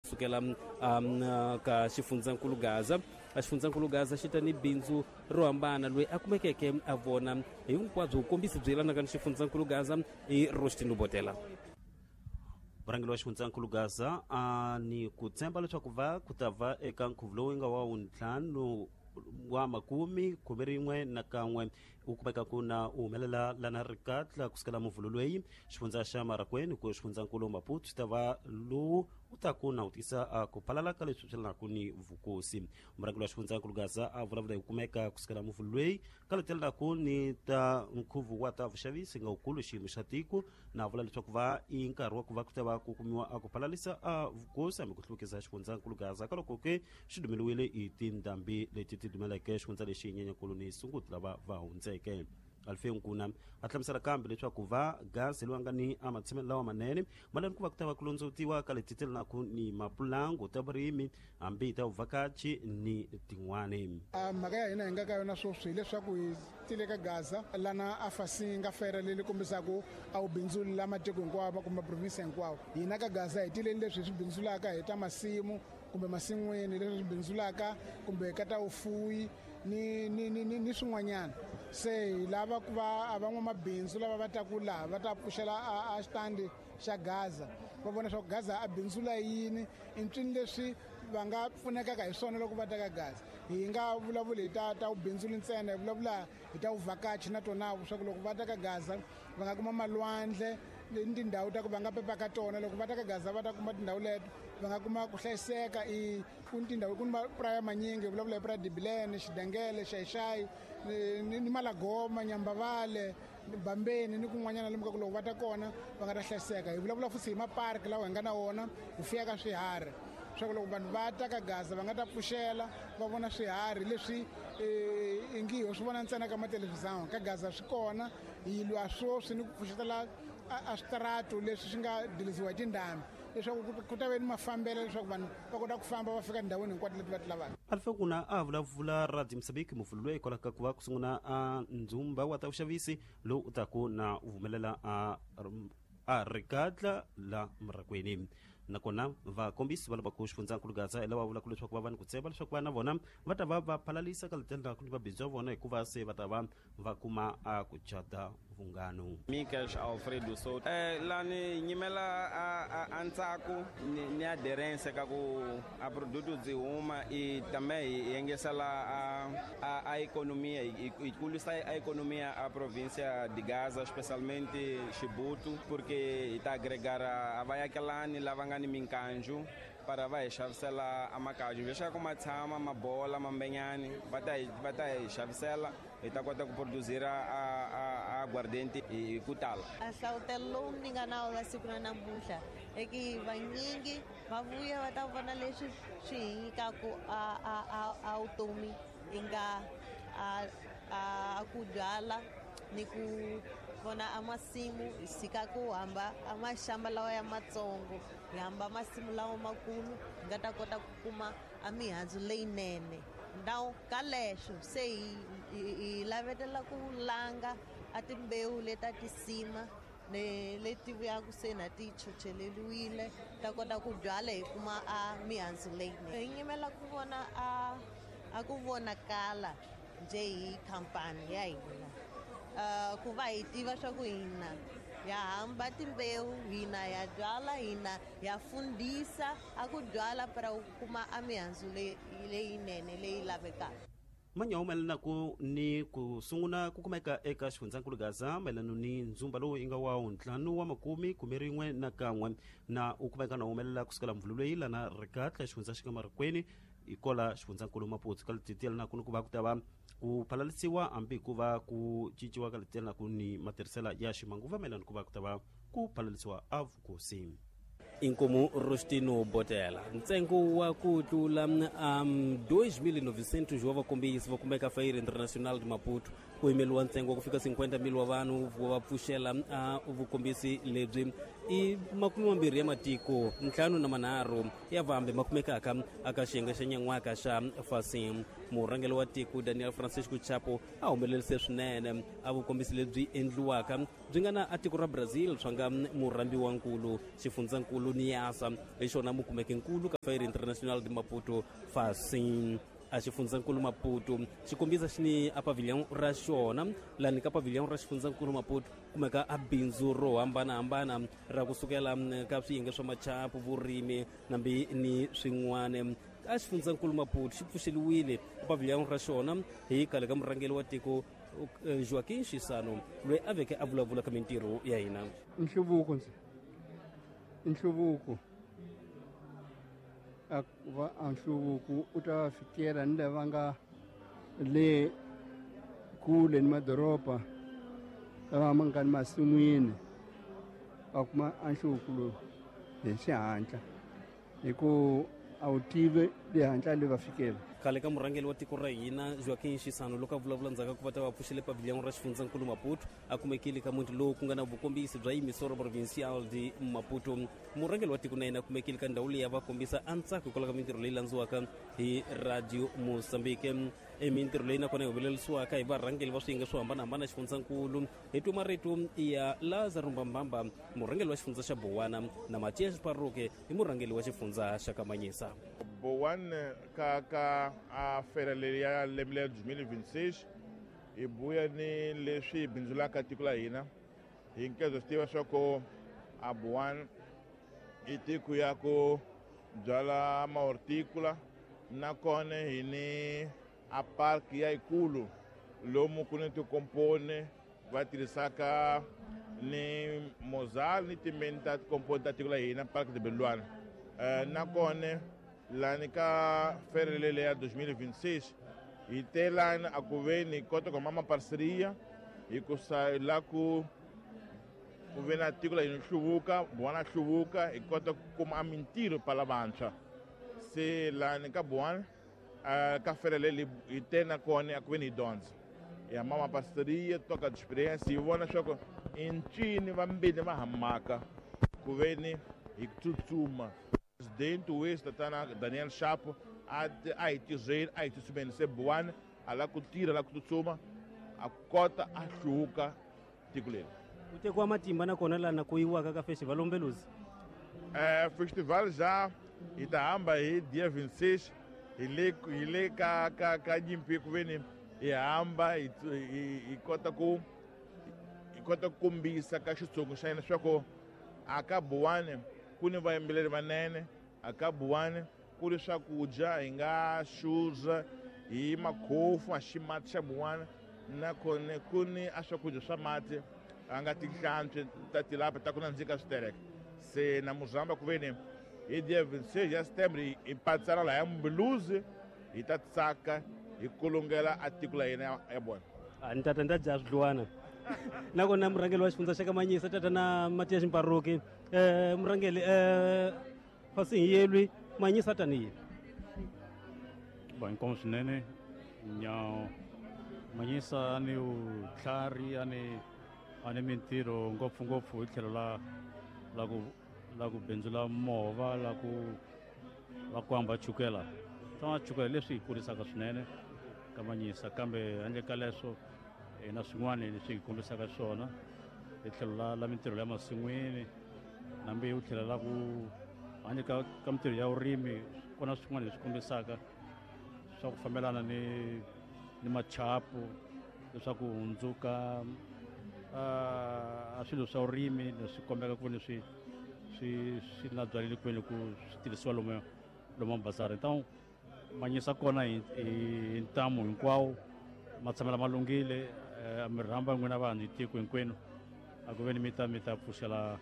Sukela ka xifundzankulu Gaza, a xifundzankulu Gaza xi ta ni bindzu ro hambana. Loyi a kumekeke a vona hinkwabyo vukombisi byi yelanaka ni xifundzankulu Gaza i Rostin Lubotela. Murhangeri wa xifundzankulu Gaza a ni ku tshemba leswaku va ku ta va eka nkhuvo lowu nga wa wuntlhanu wa makume khume rin'we na kan'we u kumeka ku na u humelela lana rikatla kusukela muvhulo loyi xifundza xa Marakweni ku xifundzankulu Maputo xi ta va lowu u ta ku na u tisa a ku phalala ka leswi swi lanaku ni vukosi. Murhangeri wa xifundzankulu Gaza a vulavula hi ku kumeka kusukela muvhulo loyi ka letelelaku ni ta nkhuvo wa ta vuxavisi nga wukulu xiyimo xa tiko, na vula leswaku va i nkarhi wa ku va ku ta va ku kumiwa a ku phalalisa a vukosi hambi ku hluvukisa xifundzankulu Gaza ka loko ke xi dumeliwile hi tindhambi leti ti dumeleke xifundza lexi Nyenyankulu ni Sunguti lava va hundzeke. Alfeu Nkuna a hlamusela kambe leswaku va Gaza loyi a nga ni a matshamelo lawa manene malani ku va ku ta va ku londzovutiwa ka leti telenaku ni mapulangu ta vurimi hambi ta vuvhakachi ni tin'wani. A mhaka ya hina hi nga ka yona sweswi hileswaku hi tile ka Gaza lana a fasinga fere leyi kombisaka a wu bindzuli la matiko hinkwawo kumbe province hinkwawo. Hina ka Gaza hi tileni leswi hi swi bindzulaka hi ta masimu kumbe masin'wini leswi swi bindzulaka kumbe ka ta vufuwi ni ni ni ni, ni swin'wanyana. Se hi lava ku va a van'wamabindzu lava va taku laha va ta pfuxela a xitandi xa Gaza, va vona swa ku Gaza a bindzula yini, i ncini leswi va nga pfunekaka hi swona loko va ta ka Gaza. Hi nga vulavuli hi ta ta vubindzuli ntsena, hi vulavula hi ta vuvhakachi na tona swa ku loko va ta ka Gaza va nga kuma malwandle ni tindhawu ta ku va nga pepa ka tona. Loko va ta ka Gaza va ta kuma tindhawu leto va nga kuma ku hlayiseka. I ku ni tindhawu, ku ni mapuraya manyingi, hi vulavula hi puraya Dibilene, Xidengele, Xayixayi ni Malagoma, Nyambavale, Bambeni ni kun'wanyana lomu ka ku loko va ta kona va nga ta hlayiseka. Hi vulavula futhi hi maparki lawa hi nga na wona, hi fuyaka swiharhi swa ku loko vanhu va ta ka Gaza va nga ta pfuxela va vona swiharhi leswi ingi ho swi vona ntsena ka mathelevhizani. Ka Gaza swi kona. Hi lwa sweswi ni ku pfuxetela a switaratu leswi swi nga diliziwa hi tindhambi leswaku ku ta ve ni mafambelo leswaku vanhu va kota ku famba va fika tindhawini hinkwato leti va ti lavaka. Alfa Kuna a vulavula Radio Mozambique muvhulo loyi hikwalaho ka ku va ku sungula a ndzumba wa ta vuxavisi lowu u taku na u humelela a rikatla la Murakweni. Nakona vakombisi va lava ku xifundzankulu Gaza hi lava vulaka leswaku va va ni ku tshemba leswaku vana vona va ta va va phalalisa ka letela ni mabindzu ya vona hikuva se va ta va va kuma a ku cata vunghano. Michael Alfredo so lani nyimela a ntsako ni aderence ka ku a produto byi huma i tame hi yengesela a economia i kulisa a economia a provincia de Gaza, especialmente Chibuto, porque hi ta agregar a vayakelani lava nga ni minkanju para va hi xavisela a makaju leswaku ma tshama mabola mambenyani va ta hi xavisela, hi ta kota ku produzira a aguardente hi ku tala. A hlavutelo lowu ni nga na wona siku ra namuntlha i ku vanyingi va vuya va ta vona leswi swi hi nyikaku a vutomi i nga a ku byala ni ku vona a masimu, hi tshika ku hamba a maxamba lawa ya matsongo, hi hamba masimu lawa makulu, hi nga ta kota ku kuma a mihandzu leyinene. Now ka leswo se hi lavetela ku langa a timbewu leta tisima ne leti vuyaka se na ti chocheleliwile ta kota ku byala hi kuma a mihandzu leyinene. Hi nyimela ku vona a ku vonakala njhe hi khampani ya hina, ku va hi tiva swa ku hina ya hamba timbewu, hina ya byala, hina ya fundisa a ku byala para ku kuma a mihandzu leyinene leyi lavekaka. Manyawu mayelana ku ni ku sungula ku kumeka eka xifundzankulu Gaza mayelana ni ndzumba lowu yi nga wa ntlhanu wa makume khume rin'we na kan'we na u kumeka na humelela kusukela mvhulu loyi lana rikatla xifundza xi nga Marikweni hikola xifundzankulu Maputo ka leti tiyelanaku ni ku va ku ta va ku phalalisiwa hambi ku va ku cinciwa ka leti tiyelanaku ni matirhisela ya ximanguva mayelana ku va ku ta va ku phalalisiwa a vukosi. Inkomu Rostino Botela. Ntsengo wa ku tlula 2900 wa vakombisi va kumeka Feira Internacional de Maputo ku yimeliwa ntsengo wa ku fika 50,000 wa vanhu va pfuxela vukombisi lebyi i 20 ya matiko 53 ya vambe ma kumekaka aka xiyenge xa nyan'waka xa Fasim. Murhangeri wa tiko Daniel Francisco Chapo a humelerise swinene a vukombisi lebyi endliwaka byi nga na a tiko ra Brazil swa nga murhambiwankulu xifundzankulu. Niassa hi xona mukumeki nkulu ka Feira Internacional de Maputo Facim. A xifundzankulu Maputo xi kombisa xi ni a pavilion ra xona lani ka pavilion ra xifundzankulu Maputo kumeka a bindzu ro hambanahambana ra kusukela ka swiyenge swa machapu, vurimi nambi ni swin'wana. A xifundzankulu Maputo xi pfuxeliwile pavilion ra xona hi khale ka murhangeri wa tiko Joaquim Chissano loyi a veke a vulavula ka mintirho ya hina. Nhluvuko ndzi nhluvuko a va a nhluvuko u ta fikela ni lava nga le kule ni madoroba lava ma nga ni masin'wini va kuma a nhluvuko lowu hi xihatla hi ku a wu tivi le hatla le va fikela. Khale ka murhangeri wa tiko ra hina Joaquim Chissano loko a vulavula ndzhaku ka ku va ta va pfuxele pavilion ra xifundzankulu Maputo a kumekile ka muti lowu ku nga na vukombisi bya Emissora Provincial de Maputo. Murhangeri wa tiko na yena a kumekile ka ndhawu leyi a va kombisa a ntsako hikwalaho ka mintirho leyi landziwaka hi Radio Mozambique. I mintirho leyi nakona yi humelerisiwaka hi varhangeri va swiyenge swo hambanahambana xifundzankulu. Hi twa marito ya Lazaro Mbambamba, murhangeri wa xifundza xa Bowana, na Matias Paroke hi murhangeri wa xifundza xa Kamanyisa. Bowana ka ka a fera leyi ya lembe leri 2026 hi buya ni leswi hi bindzulaka tiko la hina. Hi nkezo swi tiva swa ku a Bowana i tiko ya ku byala mahorticola, nakona hi ni a park ya yikulu lomu ku ni tikomponi va tirhisaka ni mozal ni timeni ta tikomponi ta tiko la hina, Park de Belwana. Nakona lani ka ferelele ya 2026 hi te lani a ku ve ni kota ku huma maparceria hikusa la ku ve na tiko la hina hluvuka, Bowana hluvuka, hi kota ku kuma mintirho pala vantshwa. Se lani ka Bowana ka ferelele hi te na kona a ku ve ni hi dyondza hi hamba maparceria, toka experience, hi vona swa ku i ncini vambirhi va hamaka ku ve ni hi tsutsuma. Presidente wesi tatana Daniel Chapo a hi tirheni, a hi tsutsumeni. Se Bowana a lava ku tirha, la ku tsutsuma, a kota a hluvuka tiko leri. Ku tekiwa matimba nakona lana ku yiwaka ka festival Umbeluzi. Festival ja hi ta hamba hi dia 26 hi le ka ka ka nyimpi ku ve ni hi hamba hi kota ku ku kombisa ka xitsongo xa hina swa ku a ka Bowana ku ni vayimbeleri vanene, a ka Bowana ku ri swakudya hi nga xuza hi makhofu a ximati xa Bowana, nakona ku ni a swakudya swa mati a nga tinhlantswi ta tilapa ta ku nandzika switereka. Se na muzamba ku ve ni hi dia 26 ya September hi patsana laha ya Umbeluzi, hi ta tsaka hi kulungela a tiko la hina ya Bowana. A ni tata ni ta dya swidluwana. Nakona murhangeri wa xifundza xa Kamanyisa tata na Matias Mparuki, murhangeri fasi hi yelwi Manyisa tanihi ba inkomo swinene nya Manyisa ni vutlhari a ni mintirho ngopfungopfu hi tlhelo la ku bindzula movha, la ku hamba chukela swa chukela leswi hi kurisaka swinene ka Manyisa. Kambe handle ka leswo hi na swin'wana leswi hi kombisaka swona hi tlhelo la mintirho ya masin'wini, nambi u tlhela la ku handle ka mintirho ya vurimi kona swin'wana leswi kombisaka swa ku fambelana ni machapu leswaku hundzuka a swilo swa vurimi leswi kombeka ku leswi swi na byaleli kwini ku swi tirhisiwa lomu bazari. Então Manyisa kona hi ntamu hinkwawo, matshamela ma lunghile, mi rhamba n'wina vanhu hi tiko hinkwenu a ku ve ni mi ta pfuxela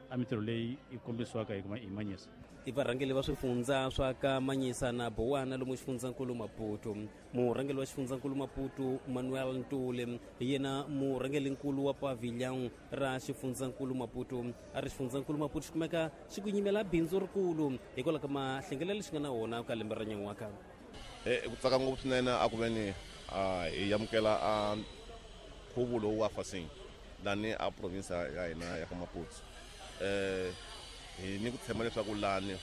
a mintirho leyi yi kombisiwaka hi Manyisa. I varhangeri va swifundza swa ka Manyisa na Bowana lomu xifundzankulu Maputo. Murhangeri wa xifundzankulu Maputo Manuel Ntuli hi yena murhangerinkulu wa pavilion ra xifundzankulu Maputo. A ri xifundzankulu Maputo xi kumeka xi ku nyimela bindzu rikulu hikwalaho ka mahlengelelo lexi nga na wona ka lembe ra nyan'waka. Ku tsaka ngopfu swinene a ku ve ni hi amukela a nkhuvo lowu wa Facim lani a province ya hina ya ka Maputo. Hi ni ku tshemba leswaku lani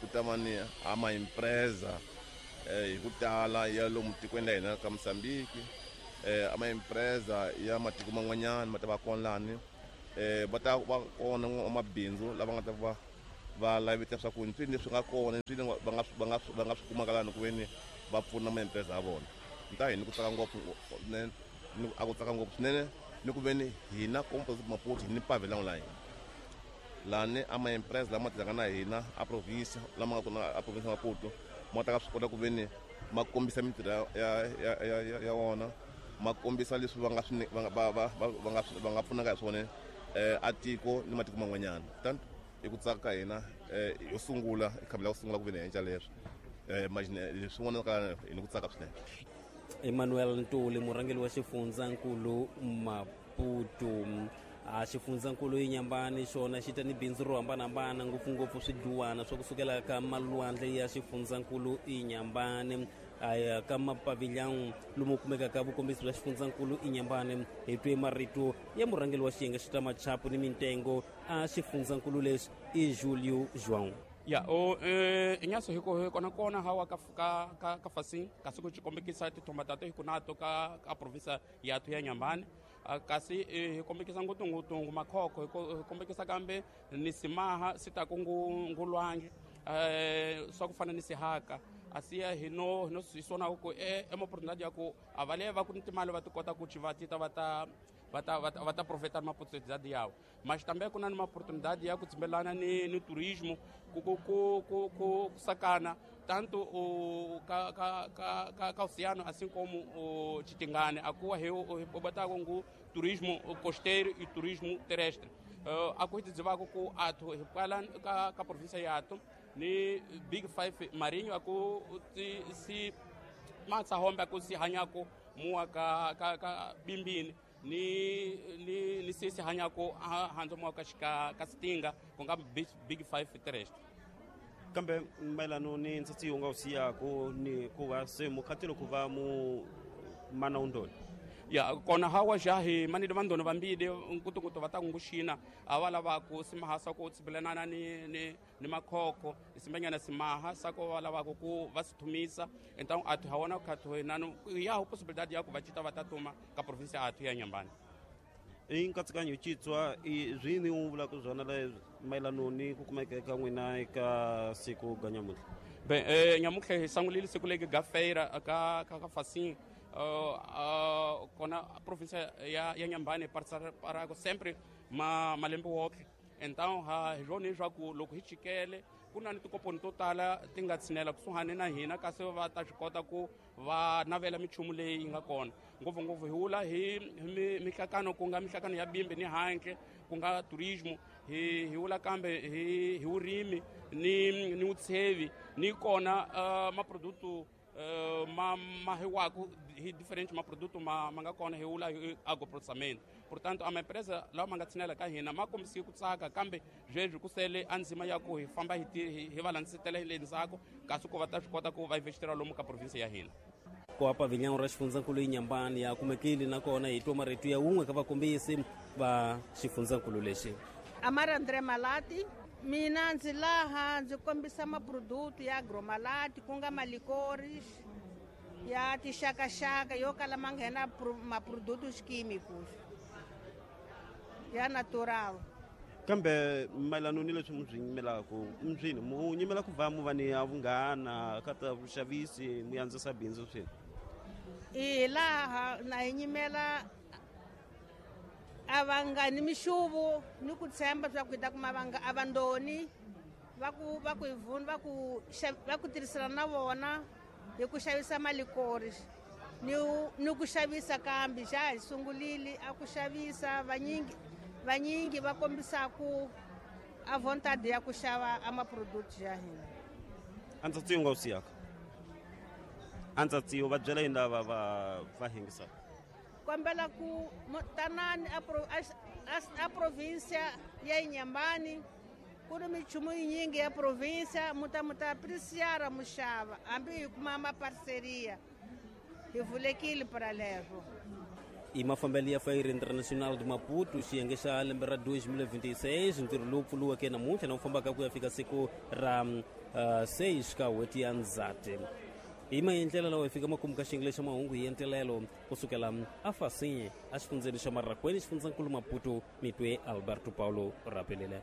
ku ta va ni a maimpresa hi ku tala ya lomu tikweni la hina ka Mozambique, a maimpresa ya matiko man'wanyana ma ta va kona lani, va ta va kona mabindzu lava nga ta va Va laveta swa ku ntwini leswi nga kona ntwini va nga swi kumaka lani ku veni va pfuna maempresa ya vona. Nta hini ku tsaka ngopfu swinene, a ku tsaka ngopfu swinene ni ku veni hina komposi Maputo hi ni pavilhão la hina lani a maempresa lama tirhaka na hina a province, lama nga kona a province ya Maputo, ma ta ka swi kota ku veni ma kombisa mintirho ya wona, ma kombisa leswi va nga swi va va va va nga va nga pfunaka hi swona a tiko ni matiko man'wanyana. Tanto i ku tsaka ka hina yo sungula i khambi la ku sungula ku veni hi endla leswi imagine leswi vonaka hi ni ku tsaka swinene. Emmanuel Ntuli, murhangeri wa xifundzankulu Maputo. A xifundzankulu Inyambani xona xi ta ni bindzu ro hambanahambana, ngopfungopfu swidluwana swa kusukela ka malwandle ya xifundzankulu Inyambani. Aya ka mapavilhão lomu kumekaka vukombisi bya xifundzankulu Inyambani, hi twe marito ya murhangeri wa xiyenge xa ta machapu ni mintengo a xifundzankulu lexi, i Julio João. Ya o inyaso hiko hi kona kona hawa ka fasin kasi ku xikombekisa tithomba tato hi kunato ka province yathu ya Nyambani. Kasi hi kombekisa ngopfungopfu ngu makhokho, hi kombekisa kambe ni simaha sitaku ngu lwandle, swa ku fana ni sihaka asiya hi no hi swona ku e oportunidade ya ku a va le va ku ni timali va ti kota ku va tita va ta profeta ni maoportunidade yawo. Mas também ku na ni maoportunidade ya ku tsimbelana ni turismo ku sakana tanto o ka oceano assim como o Chitingane akuwa he botako ngu turismo costeiro e turismo terrestre. A ku hi dzivako ku athu hi kwala ka província yathu ni big five marinho aku ti si matsahombe aku si hanyaku muwa ka bimbini ni sisi hanyaku handzo muwa ka xika ka sitinga ku nga big five terrestre. Kambe mayelano ni ntsatsi wu nga wu siyaku ni ku va se mukhatelo ku va mu mana undoni? Ya kona hawa ja hi manile vandoni vambili nkutunkutu va ta nguxina a va lava ku simaha swa ku tsibelanana ni makhokho simbanyana simaha swa ku va lavaku ku va si thumisa. Então athu ha wona khathu nanu ya ho possibilidade ya ku va cita va ta tuma ka province athu ya Nyambani. I nkatsakanyo citswa i zwini u vulaka swona le mayelano ni ku kumeka ka n'wina eka siku ga nyamuntlha? Bem, nyamuntlha hi sangulile siku legi ga feira ka Facim, kona província ya Nyambani parako sempre ma malembe woke. Então ha hi swona leswaku loko hi chikele ku na ni tikoponi to tala ti nga tshinela kusuhani na hina kasi va ta swi kota ku va navela minchumu leyi yi nga kona, ngopfungopfu hi wula hi mihlakano ku nga mihlakano ya bimbi ni handle ku nga turismo, hi wula kambe hi vurimi ni vutshevi ni kona maproduto ma hiwaku hi diferente maproduto ma nga kona, hi wula hi agroprocessamento. Portanto a maempresa lawa ma nga tshinela ka hina ma kombisile ku tsaka, kambe sweswi ku sele a ndzima ya ku hi famba hi va landzetela hi le ndzhaku kasi ku va ta swi kota ku va investira lomu ka province ya hina. Ku pavilhão ra xifundzankulu Inyambani ya kumekile nakona hi twa marito ya wun'we ka vakombisi va xifundzankulu lexi. Amara André Malati, mina ndzi laha ndzi kombisa maproduto ya agromalati ku nga malikores ya tixakaxaka yo kala ma nghena maprodutos químicos ya natural. Kambe mayelano ni leswi mu swi nyimelaku mswini mu nyimela ku va mu va ni ya vunghana ka ta vuxavisi mu yandzisa bindzu swini? I laha na hi nyimela a va ni mixuvo ni ku tshemba swa ku hi ta kuma a vandoni va ku hi vuna va ku tirhisana na vona hi ku xavisa malikori ni ku xavisa, kambe xa hi sungulile a ku xavisa vanyingi va kombisaku a vontade ya ku xava a maproduct ya hina. A ntsatsi wu nga wu siyaka a ntsatsi va byela yini lava va hingisaka? Kombela ku tanani a província ya Inhambane, ku ri minchumu yinyingi ya província, mu ta apreciar muxava hambi hi kuma maparceria, hi vulekile para leswo. I mafambelo ya Feira Internacional de Maputo, xiyenge xa lembe ra 2026, ntirho lowu pfuriweke namuntlha na wu fambaka ku ya fika siku ra 6 ka n'hweti ya Ndzhati. Hi maendlelo lawa hi fika makumu ka xiyenge xa mahungu hi entelelo kusukela afasinye exifundzeni xa Marracuene, xifundzankulu Maputo. Mitwe Alberto Paulo rapelele.